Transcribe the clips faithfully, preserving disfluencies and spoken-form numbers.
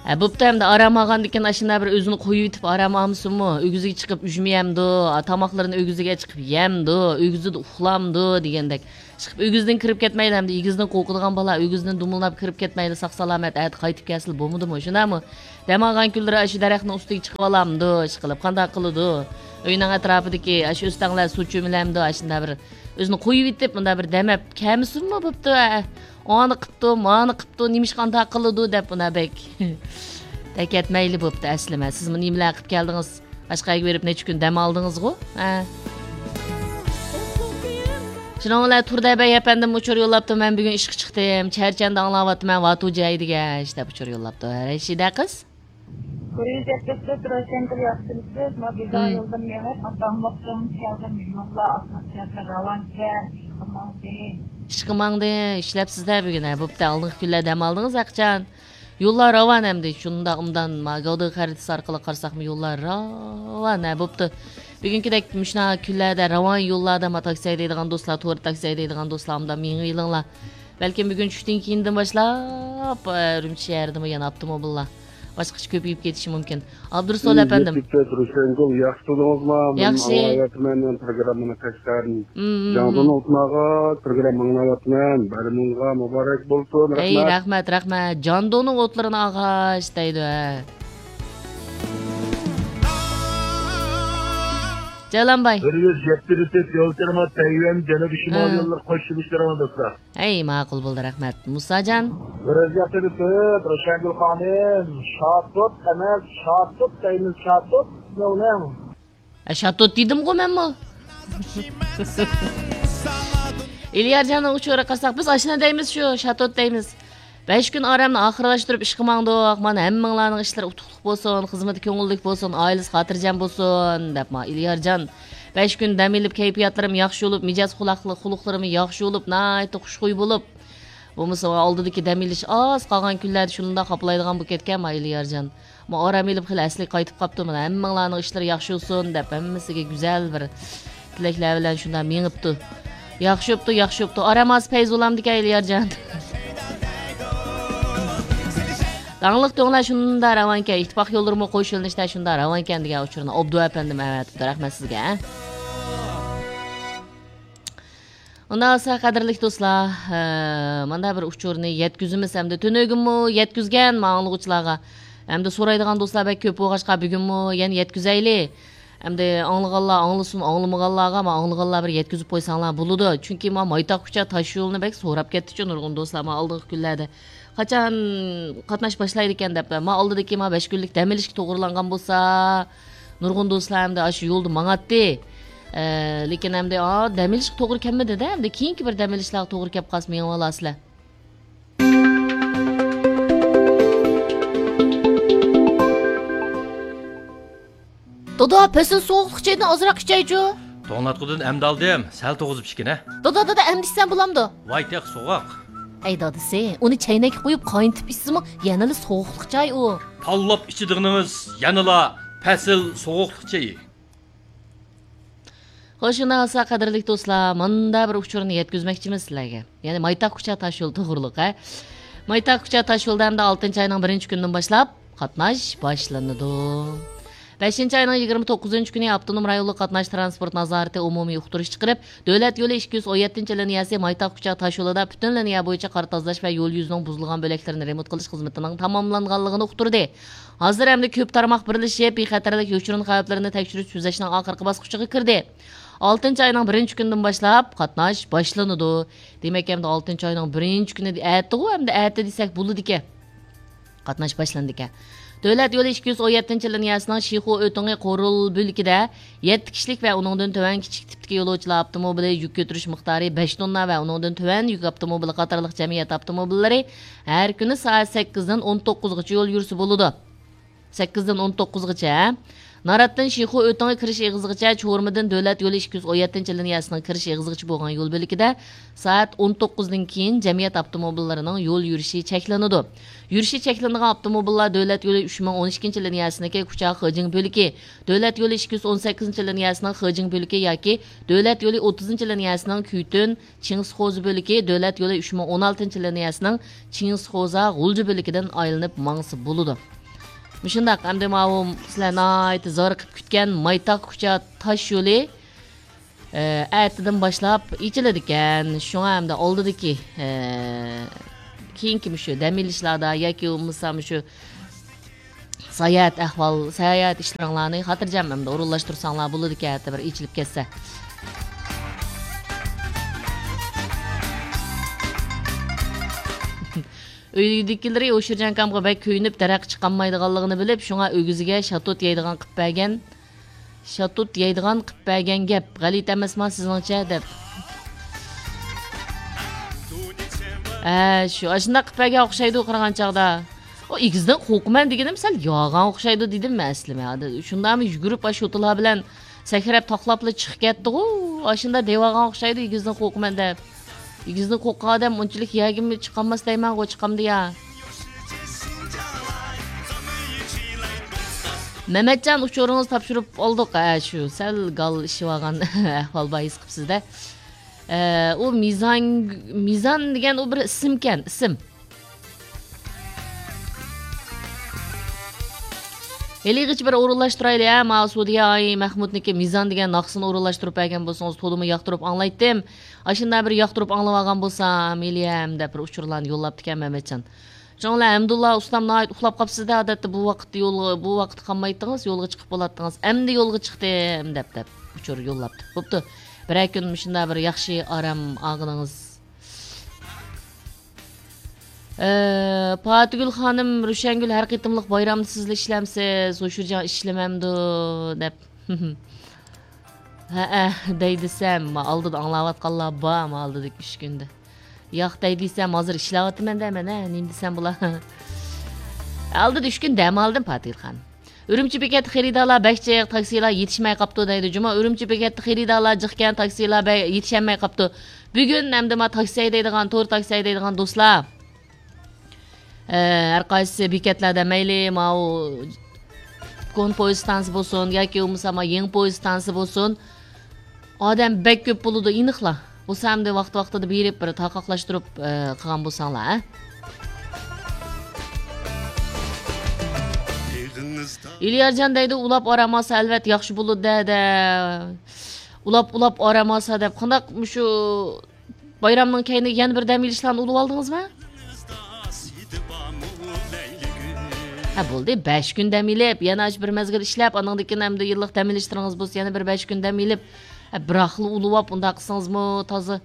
ھە، بوپتۇ، ئەمدى ئارام ئالغاندىكىن ئاشۇنداق بىر ئۆزىنى قويۇۋېتىپ ئارام ئالمىسۇنمۇ؟ ئۆگزىگە چىقىپ ئۈجمە يەمدۇ، تاماقلىرىنى ئۆگزىگە چىقىپ يەمدۇ، ئۆگزىدە ئۇخلامدۇ دېگەندەك. چىقىپ ئۆگزىدىن كىرىپ كەتمەيلى، ئەمدى ئېگىزدىن قورقىدىغان بالا ئۆگزىدىن دومىلاپ كىرىپ كەتمەيلى، ساق-سالامەت ئەتە قايتىپ كەلسىلا بولمىدىمۇ؟ شۇنداقمۇ؟ دەم ئالغان كۈنلىرى ئاشۇ دەرەخنىڭ ئۈستىگە چىقىۋالامدۇ، ئىشقىلىپ قانداق قىلىدۇ؟ ئۆينىڭ ئەتراپىدىكى ئاشۇ ئۆستەڭلەر سۇ چۆمۈلەمدۇ؟ ئاشۇنداق بىر ئۆزىنى قويۇۋېتىپ، مۇنداق بىر دەم ئەپ كەلمىسۇنمۇ بوپتۇ؟ ئە، ئانى قىپتۇ، مانى قىپتۇ، نېمىشقا ئانداق قىلىدۇ دەپ، مۇنداق بەك دەكەتمەيلى بوپتۇ ئەسلىمە. سىزمۇ نېمىلەر قىپ كەلدىڭىز؟ باشقا يەرگە بېرىپ نەچچە كۈن دەم ئالدىڭىزغۇ؟ ھە. شۇنىڭ بىلەن تۇردەبەي ئەپەندىم ئۇچۇر يوللاپتۇ، مەن بۈگۈن ئىشقا چىقتىم، چەرچەندە ئاڭلاۋاتىمەن، ۋاتۇ جاي دېگەن دەپ ئۇچۇر يوللاپتۇ. ھە، رەشىدە قىز. كورېيە جەددىسىدە تۇرۇشەنكىل ياخشىمىسىز؟ ما بىزا يولدىن مېڭىپ، ئاتاملىقتىن كەلدىم. يوللار ئاسماس يەردە راۋانكەن، ئىشقا ماڭدى. ئىشقا ماڭدى، ئىشلەپسىز-دە بۈگۈن، ھە، بوپتۇ، ئالدىنقى كۈنلەر دەم ئالدىڭىز ھەقىچان. يوللار راۋان ئەمدى، شۇنداق ئوبدان، ما گاۋدىغا خەرىتىسى ئارقىلىق قارىساقمۇ يوللار راۋان، ھە، بوپتۇ. بۈگۈنكىدەك مۇشۇنداق كۈنلەردە راۋان يوللاردا ما تاكسى ھەيدەيدىغان دوستلار، تور تاكسى ھەيدەيدىغان دوستلار ئوبدان مېڭىۋېلىڭلار. بەلكىم بۈگۈن چۈشتىن كېيىندىن باشلاپ، ئە، ئۈرۈمچى شەھىرىدىمۇ يەنە ئاپتوموبىللار باشقىچە كۆپىيىپ كېتىشى مۇمكىن. ئابدۇرۇسۇل ئەپەندىم. يەتتە روشەنگۈل، ياخشى تۇردىڭىزمۇ؟ مەن ياخشى. ئاڭلاۋاتىمەن، مەن پروگراممىنى قەشقەردىن. مم. جاندۇننىڭ ئوتىنى ئاغاچ، پروگرامما ئاڭلاۋاتىمەن. بەرىمۇنغا مۇبارەك بولسۇن. ئەي، رەھمەت. رەھمەت، رەھمەت. جاندۇننىڭ ئوتلىرىنى ئاغاچ دەيدۇ، ھە. جالانباي. بىر يۈز يەتتە يول تېرىمات تەيۋەن جەنۇبىي شىمال ھە. يوللىرى قوش سۈرۈشلىرىڭ دوستلار. ئەي، ماقۇل بولدى، رەھمەت. مۇساجان. بىر يۈز يەتتە روشەنگۈل خانىم، شاتۇت ئەمەس، شاتۇت دەيمىز، شاتۇت. نېمە ئۇنىڭ؟ ئە، شاتۇت دېدىمغۇ مەنمۇ. ئېلىيارجاننىڭ ئۇچۇرىغا قارىساق، بىز ئاشۇنى دەيمىز، شۇ شاتۇت دەيمىز. بەش كۈن ئارامنى ئاخىرلاشتۇرۇپ ئىشقا ماڭدۇق. مانا ھەممىڭلارنىڭ ئىشلىرى ئۇتۇقلۇق بولسۇن، خىزمىتى كۆڭۈللۈك بولسۇن، ئائىلىسى خاتىرجەم بولسۇن، دەپ ما ئېلىيارجان. بەش كۈن دەم ئېلىپ، كەيپىياتلىرىم ياخشى بولۇپ، مىجەز خۇلقلىرىمى ياخشى بولۇپ، ناھايىتى خۇشخۇي بولۇپ، بولمىسا ئالدىدىكى دەم ئېلىش ئاز قالغان كۈنلەردە شۇنداق خاپىلايدىغان بولۇپ كەتكەن ما ئېلىيارجان. ما ئارام ئېلىپ خېلى ئەسلىگە قايتىپ قاپتۇ. مانا ھەممىڭلارنىڭ ئىشلىرى ياخشى بولسۇن دەپ ھەممىسىگە گۈزەل بىر تىلەكلەر بىلەن شۇنداق مېڭىپتۇ. ياخشى بوپتۇ، ياخشى بوپتۇ. ئارام ئاز پەيزى بولامدىكەن ئېلىيارجان. داڭلىق تۆڭلەر شۇنداق راۋانكەن، ئىتتىپاق يوللىرىمۇ قوش يۆنىلىشتە شۇنداق راۋانكەن دېگەن ئۇچۇرنى ئابدۇ ئەپەندىم ئەۋەتىپتۇ. رەھمەت سىزگە. ئۇنداق بولسا، قەدىرلىك دوستلار، ھە، مانداق بىر ئۇچۇرنى يەتكۈزىمىز ئەمدى. تۈنۈگۈنمۇ يەتكۈزگەن ما ئاڭلىغۇچىلارغا. ئەمدى سورايدىغان دوستلار بەك كۆپ بولغاچقا، بۈگۈنمۇ يەنە يەتكۈزەيلى. ئەمدى ئاڭلىغانلار ئاڭلىسۇن، ئاڭلىمىغانلارغا ما ئاڭلىغانلار بىر يەتكۈزۈپ قويساڭلار بولىدۇ. چۈنكى ما مايتاق كۇچا تاشيولىنى بەك سوراپ كەتتىچۇ نۇرغۇن دوستلار ما ئالدىنقى كۈنلەردە. قاچان قاتناش باشلايدىكەن دەپ، ما ئالدىدىكى ما بەش كۈنلۈك دەم ئېلىشكە توغرىلانغان بولسا، نۇرغۇن دوستلار ئەمدى ئاشۇ يولدا ماڭاتتى. ئە، لېكىن ئەمدى، ئا، دەم ئېلىشقا توغرا كەلمىدى-دە، ئەمدى كېيىنكى بىر دەم ئېلىشلارغا توغرا كەپ قالسا مېڭىۋالارسىلەر. دادا، پەسىل سوغۇقلۇق چېيىدىن ئازراق ئىچەيچۇ. توڭلاتقۇدىن ئەمدى ئالدىم، سەل توغۇزۇپ ئىچكىنە. دادا، دادا، ئەمدى ئىچسەم بولامدۇ؟ ۋاي تېخى سوغۇق. ئەي دادىسى، ئۇنى چەينەككە قۇيۇپ قاينىتىپ ئىچسىمۇ يەنىلا سوغۇقلۇق چاي ئۇ. تاللاپ ئىچىدىغىنىڭىز يەنىلا پەسىل سوغۇقلۇق چېيى. خوش، شۇنداق بولسا، قەدىرلىك دوستلار، مۇندا بىر ئۇچۇرنى يەتكۈزمەكچىمىز سىلەرگە. يەنى مايتاق كۇچا تاشيول توغرۇلۇق، ھە. مايتاق كۇچا تاشيولدا ئەمدى ئالتىنچى ئاينىڭ بىرىنچى كۈنىدىن باشلاپ قاتناش باشلىنىدۇ. بەشىنچى ئاينىڭ يىگىرمە توققۇزىنچى كۈنى ئاپتونوم رايونلۇق قاتناش ترانسپورت نازارىتى ئومۇمىي ئۇقتۇرۇش چىقىرىپ، دۆلەت يولى ئىككى يۈز ئون يەتتىنچى لىنىيەسى مايتاق كۇچا تاشيولىدا پۈتۈن لىنىيە بويىچە قار تازىلاش ۋە يول يۈزىنىڭ بۇزۇلغان بۆلەكلىرىنى رېمونت قىلىش خىزمىتىنىڭ تاماملانغانلىقىنى ئۇقتۇردى. ھازىر ئەمدى كۆپ تارماق بىرلىشىپ، بىخەتەرلىك يوشۇرۇن خەۋپلىرىنى تەكشۈرۈش تۈزەشنىڭ ئاخىرقى باسقۇچىغا كىردى. ئالتىنچى ئاينىڭ بىرىنچى كۈنىدىن باشلاپ قاتناش باشلىنىدۇ. دېمەك، ئەمدى ئالتىنچى ئاينىڭ بىرىنچى كۈنى، ئەتىغۇ، ئەمدى ئەتە دېسەك بولىدىكەن. قاتناش باشلىنىدىكەن. دۆلەت يولى ئىككى يۈز ئون يەتتىنچى لىنىيەسىنىڭ شىخۇ ئۆتىڭى قورۇل بۆلىكىدە يەتتە كىشىلىك ۋە ئۇنىڭدىن تۆۋەن كىچىك تىپتىكى يولۇچىلار ئاپتوموبىلى، يۈك كۆتۈرۈش مىقدارى بەش توننا ۋە ئۇنىڭدىن تۆۋەن يۈك ئاپتوموبىلى قاتارلىق جەمئىيەت ئاپتوموبىللىرى ھەر كۈنى سائەت سەككىزدىن ئون توققۇزغىچە يول يۈرسە بولىدۇ. سەككىزدىن ئون توققۇزغىچە. ناراتتىن شىخۇ ئۆتىڭى كىرىش ئېغىزىغىچە، چورمىدىن دۆلەت يولى ئىككى يۈز ئون يەتتىنچى لىنىيەسىنىڭ كىرىش ئېغىزىغىچە بولغان يول بۆلىكىدە سائەت ئون توققۇزدىن كېيىن جەمئىيەت ئاپتوموبىللىرىنىڭ يول يۈرۈشى چەكلىنىدۇ. يۈرۈشى چەكلىنىدىغان ئاپتوموبىللار دۆلەت يولى ئۈچ مىڭ ئون ئىككىنچى لىنىيەسىنىڭكى كۇچا خېجىڭ بۆلىكى، دۆلەت يولى ئىككى يۈز ئون سەككىزىنچى لىنىيەسىنىڭ خېجىڭ بۆلىكى ياكى دۆلەت يولى ئوتتۇزىنچى لىنىيەسىنىڭ كۈيتۈن، چىڭسخوزا بۆلىكى، دۆلەت يولى ئۈچ مىڭ ئون ئالتىنچى لىنىيەسىنىڭ چىڭسخوزا غۇلجا بۆلىكىدىن ئايلىنىپ ماڭسا بولىدۇ. مۇشۇنداق، ئەمدى ماۋۇ سىلەر ناھايىتى زارىقىپ كۈتكەن مايتاق كۇچا تاش يولى، ئە، ئەتىدىن باشلاپ ئېچىلىدىكەن. شۇڭا ئەمدى ئالدىدىكى، ئە، كېيىنكى مۇشۇ دەم ئېلىشلاردا ياكى بولمىسا مۇشۇ ساياھەت ئەھۋال، ساياھەت ئىشلىرىڭلارنى خاتىرجەم ئەمدى ئورۇنلاشتۇرساڭلار بولىدىكەن، ئەتە بىر ئېچىلىپ كەتسە. ئۆيدىكىلىرى ئوشۇرجان ئاكامغا بەك كۆيۈنۈپ، دەرەخكە چىقالمايدىغانلىقىنى بىلىپ، شۇڭا ئۆگزىگە شاتۇت يەيدىغان قىپ بەرگەن. شاتۇت يەيدىغان قىپ بەرگەن گەپ. غەلىتە ئەمەسما سىزنىڭچە؟ دەپ. ھە، شۇ، ئاشۇنداق قىپ بەرگەن ئوخشايدۇ قارىغان چاغدا. ئۇ ئېگىزدىن قورقىمەن دېگىنىم سەل ياغان ئوخشايدۇ دېدىم مەن ئەسلىمە. شۇنداقمۇ يۈگۈرۈپ ئاشۇ شوتىلار بىلەن سەكرەپ تاقلاپلا چىقىپ كەتتىغۇ. ئاشۇنداق دەۋالغان ئوخشايدۇ، ئېگىزدىن قورقىمەن دەپ. ئېگىزدىن قورققان ئادەم ئۇنچىلىك يەرگىمۇ چىقالماس دەيمەنغۇ، چىقامدۇ يا؟ مەمەتجان، ئۇچۇرىڭىزنى تاپشۇرۇپ ئالدۇق. ھە، شۇ سەل گال ئىشىۋالغان ئەھۋال بار ھېس قىپسىز-دە. ئە، ئۇ مىزان، مىزان دېگەن ئۇ بىر ئىسىمكەن، ئىسىم. ھېلىغىچە بىر ئورۇنلاشتۇرايلى، ھە، ماۋۇ سۇدىيە ئاي مەخمۇتنىكى مىزان دېگەن ناخشىسىنى ئورۇنلاشتۇرۇپ بەرگەن بولسىڭىز، تولىمۇ ياقتۇرۇپ ئاڭلايتتىم. ئاشۇنداق بىر ياقتۇرۇپ ئاڭلىۋالغان بولسام، ھېلىھەم دەپ بىر ئۇچۇرلارنى يوللاپتىكەن مەمەتجان. شۇڭا ئەمدۇللا ئۇستام ناھايىتى ئۇخلاپ قاپسىز-دە، ئادەتتە بۇ ۋاقىتتا يولغا، بۇ ۋاقىتتا قالمايتتىڭىز، يولغا چىقىپ بولاتتىڭىز. ئەمدى يولغا چىقتىم دەپ، دەپ ئۇچۇر يوللاپتۇ. بوپتۇ. بىرەر كۈن مۇشۇنداق بىر ياخشى ئارام ئالغىنىڭىز. ئە، پاتىگۈل خانىم، روشەنگۈل ھەر قېتىملىق بايرامدا سىزلا ئىشلەمسىز، ھوشۇرجان ئىشلىمەمدۇ دەپ. ھەئە، دەي دېسەم، ما ئالدىدا ئاڭلاۋاتقانلار بار، ما ئالدىدىكى ئۈچ كۈندە. ياق دەي دېسەم، ھازىر ئىشلەۋاتىمەن دەيمەن، ھە، نېمە دېسەم بولا. ئالدىدا ئۈچ كۈن دەم ئالدىم، پاتىگۈل خانىم. ئۈرۈمچى بېكەتتە خېرىدارلار بەك جىق، تاكسىلار يېتىشمەي قاپتۇ دەيدۇ جۇمۇ. ئۈرۈمچى بېكەتتە خېرىدارلار جىقكەن، تاكسىلار بەك يېتىشەلمەي قاپتۇ. بۈگۈن ئەمدى ما تاكسى ھەيدەيدىغان، تور تاكسى ھەيدەيدىغان دوستلار، ئە، ھەر قايسى بېكەتلەردە مەيلى ماۋۇ كونا پويىز ئىستانسىسى بولسۇن ياكى بولمىسا ما يېڭى پويىز ئىستانسىسى بولسۇن، ئادەم بەك كۆپ بولىدۇ، ئېنىقلا. بولسا ئەمدى ۋاقتى ۋاقتىدا بېرىپ بىر تارقاقلاشتۇرۇپ، ئە، قىلغان بولساڭلار، ھە؟ ئېلىيارجان دەيدۇ، ئۇلاپ ئارام ئالسا ئەلۋەتتە ياخشى بولىدۇ-دە، دە. ئۇلاپ، ئۇلاپ ئارام ئالسا دەپ، قانداق مۇشۇ بايرامنىڭ كەينىگە يەنە بىر دەم ئېلىشلارنى ئۇلىۋالدىڭىزمۇ؟ ھە، بولدى، بەش كۈن دەم ئېلىپ، يەنە ئاشۇ بىر مەزگىل ئىشلەپ، ئانىڭدىن كېيىن ئەمدى يىللىق دەم ئېلىشلىرىڭىز بولسا، يەنە بىر بەش كۈن دەم ئېلىپ، ھە، بىراقلا ئۇلىۋاپ، ئۇنداق قىلسىڭىزمۇ تازا.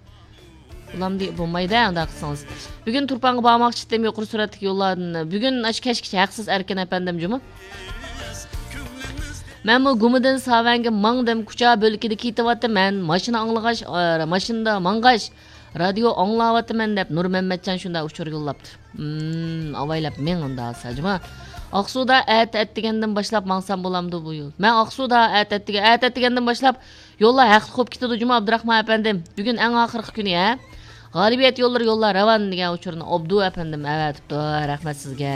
ئۇلامدى بولمايدۇ، ئۇنداق قىلسىڭىز. بۈگۈن تۇرپانغا بارماقچى ئىدىم، يۇقىرى سۈرئەتلىك يوللاردىن. بۈگۈن ئاشۇ كەچكىچە ھەقسىز ئەركىن ئەپەندىم جۇمۇ. مەنمۇ گۇمىدىن ساۋەنگە ماڭدىم، كۇچا بۆلىكىدە كېتىۋاتىمەن. ماشىنا ئاڭلىغاچ، ئا، ماشىنىدا ماڭغاچ، رادىيو ئاڭلاۋاتىمەن دەپ نۇرمەممەتجان شۇنداق ئۇچۇر يوللاپتۇ. ھىم، ئاۋايلاپ مېڭ ئۇنداق ساجما. ئاقسۇدا ئەتە ئەتىگەندىن باشلاپ ماڭسام بولامدۇ بۇ يول؟ مەن ئاقسۇدا ئەتە ئەتىگە-، ئەتە ئەتىگەندىن باشلاپ يوللار ھەقلىق بولۇپ كېتىدۇ جۇمۇ ئابدۇراخمان ئەپەندىم. بۈگۈن ئەڭ ئاخىرقى كۈنى، ھە؟ غالىبىيەت يوللىرى يوللار راۋان دېگەن ئۇچۇرنى ئابدۇ ئەپەندىم ئەۋەتىپتۇ. رەھمەت سىزگە.